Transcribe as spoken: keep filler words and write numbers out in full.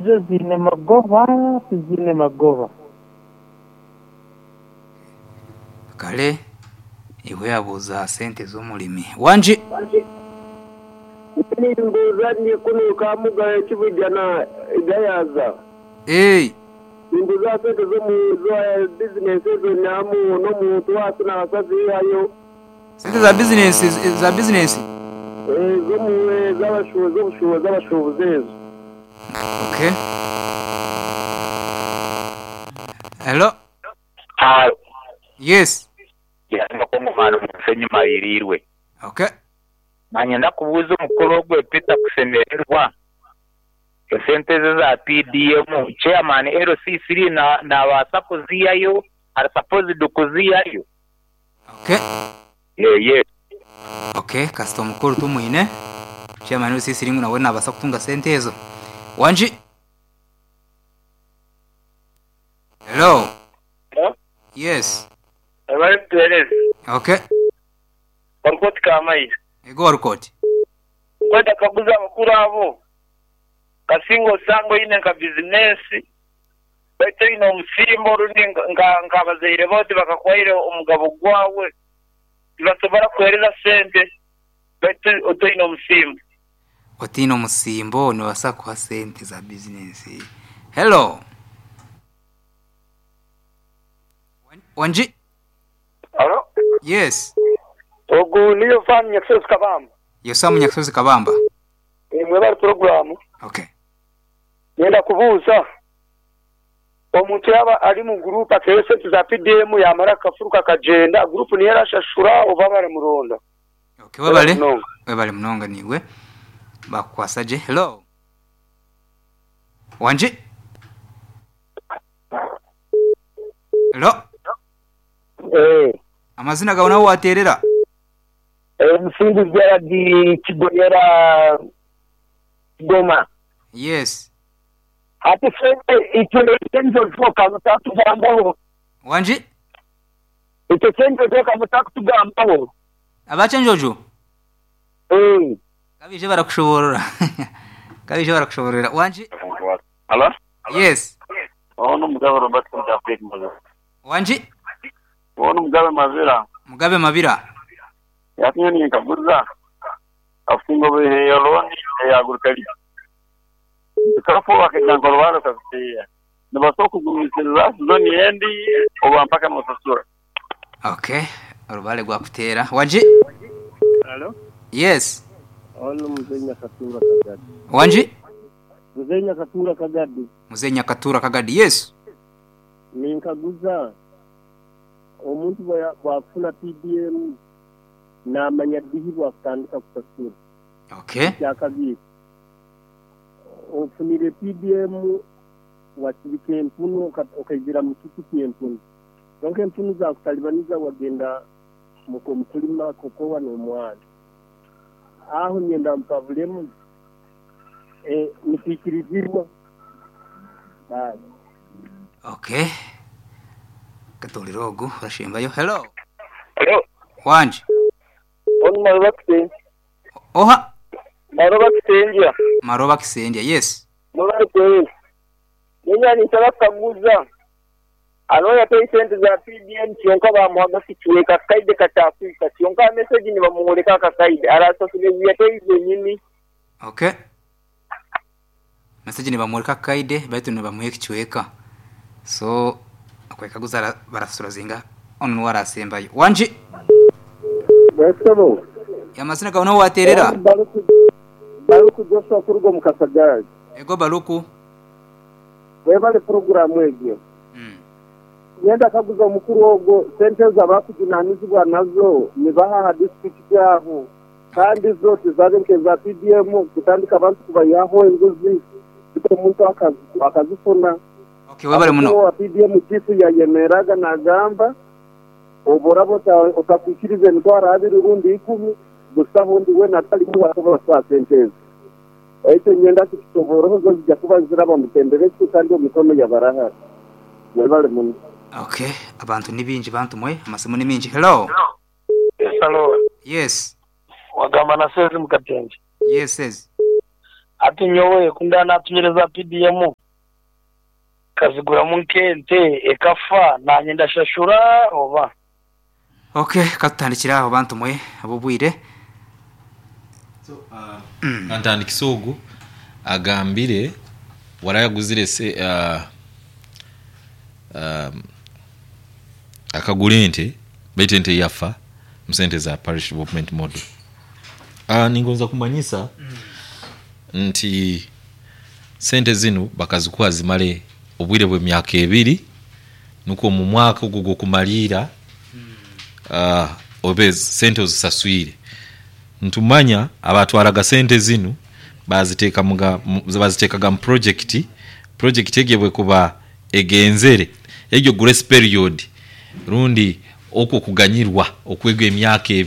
Zo ziine magoba tiziine magoba. Kale iwe yabuuza sente z'omurimi. Wangi? Nimbuuza kunuka mugayo kibujana gayaza. Hey, Nimbuuza sente z'omu za bizinesi ezo nyamu n'omuntu wacu nabasazihayo sente za business za business. z'omu z'abashuubuzi z'obushuubuzi z'abashuubuzi ezo. Okay. Hello. Yes. Yamakomano musenyi mayirirwe. Okay. Manye ndakubuuza omukuru ogwe Peter Kusemererwa. Esente ze za P D M chairman L C three na nabaasa kuziyayo ari supposed kuziyayo. Okay. Yeah, yeah. Okay, kasita omukuru tumwine. Chairman L C three nawe nabaasa kutunga sente ezo. Wangi? Hello. Hello? Yes. Abari kutuhereza. Okay. Warukoti Kamayi. Ego warukoti. Kwenda kaguza abakuru abo. Kasinga osanga oine nka bizinesi. Baitu oine omusimbo orundi nka nkabazaire bote bakakwaire omugabo gwawe. Tibasobora kuhereza sente. Baitu otoine omusimbo. Otiine omusimbo nibasa kuha sente za bizinesi. Hello. Wangi? Hello? Yes. Ogu niyo Sam Nyakisozi Kabamba. Yo Sam Nyakisozi Kabamba. Imwe bari program. Okay. Ngenda kubuuza omuntu yaba ari mu group atewe sente za P D M yamara kafuruka kagenda group niyo yarashashura oba bari muronda. Okay, webale. Webale munonga niwe. Bakwasaje. Hello. Wangi? Hello. Eh. Amazina gawe nawe waterera? Eh, Musingu Gerard Kigonyera Goma. Yes. Ati sente icyo cyenjo kamutatugambaho. Wangi? Icyo cyenjo kamutatugambaho. Abachenjojo? Eh. Kabije barakushoborora. Kabije barakushoborora. Wangi? Hello? Yes. Ono Mugabe Robert Mutafik Mugabe. Wangi? Ono Mugabe Mabira. Mugabe Mabira. Yakinye nkaguza. Afungo behe loni ya agriculture. Kafu wakijangoro walo kakutia. Nibasoko kugumisiriza zoni endi oba mpaka musasura. Okay, orubale gwa kutera. Wangi? Hello? Yes. Ono Muzenya Katura Kagadi. Wangi? Muzenya Katura Kagadi. Muzenya Katura Kagadi, yes. Ninkaguza omuntu bwafuna P D M namanya dihi bwakutandika kusasura. Okay. Kyakabiri. Ofunire P D M wakibika empunu okaizira mutukuti empunu. Donke empunu za kutalibaniza wagenda mukulima kokowa n'omwana. Aho nyenda mpavulemu eh nifikirizirwa. Bye. Okay. Katolirogu rashimbayo. Hello. Hello. Wangi. Ono Maroba Kisenja. Oha. Maroba Kisenja. Maroba Kisenja, yes. Maroba Kisenja. Nenya nisaba kaguza. Anoya pay sente za P D M kyonka bamuhaga kichweka kaide katafika kyonka message ni bamuholeka kakaide arasasule yateize nyini. Okay. Message ni bamuholeka kaide baitu ni bamuhe kichweka. So akwekaguza barasura zinga ono warasembayo. Wangi? Basabo. Yamazina gawe nawe waterera? Baruku Baruku Joshua kurugo mukasagara. Ego Baruku. Webale program egyo. Mm. Yenda kaguza omukuru ogwo sente zabakujunanizibwa nazo nibaha district yaho kandi zote zabe nkeza P D M kutandika abantu kubayaho enguzi omuntu akazi akazifuna. Okay, webale muno. Wa P D M chifu yayemeraga nagamba oborabo otakwikirize emitwaro abiri rundi ikumi gusa hundi we natali kuba kwa sente. Ekyo nyenda kitusoboroho zo zijja kuba ziraba mutendereki kandi omikono yabarahara. Webale muno. Okay, abantu ni bingi bantu mwe amasimu ni mingi. Hello. Yes, hello. Yes. Wagamba na sezi mkatenje. Yes, yes. Ati nyowe kunda natumire za P D M, kaziguramu nk'ente ekafa, nanye ndashashura oba? Okay, katutandikira aho bantu mwe abobwire. Kantandikisa ogu agambire warayaguzire se uh, um, akagura ente, baitu ente yafa musente za parish development model. uh, ningonza kumanyisa nti sente zinu bakazikuha zimale obwire bw'emyaka ebiri, nukwo mu mwaka ogwo gwokumaliira uh, obe sente ozisaswire. Ntumanya abatwaraga sente zinu baziteeka muga mu- baziteekaga mu project. Project egyo bwekuba egenzere, egyo grace period rundi okwo kuganyirwa okwega emyaka ebiri.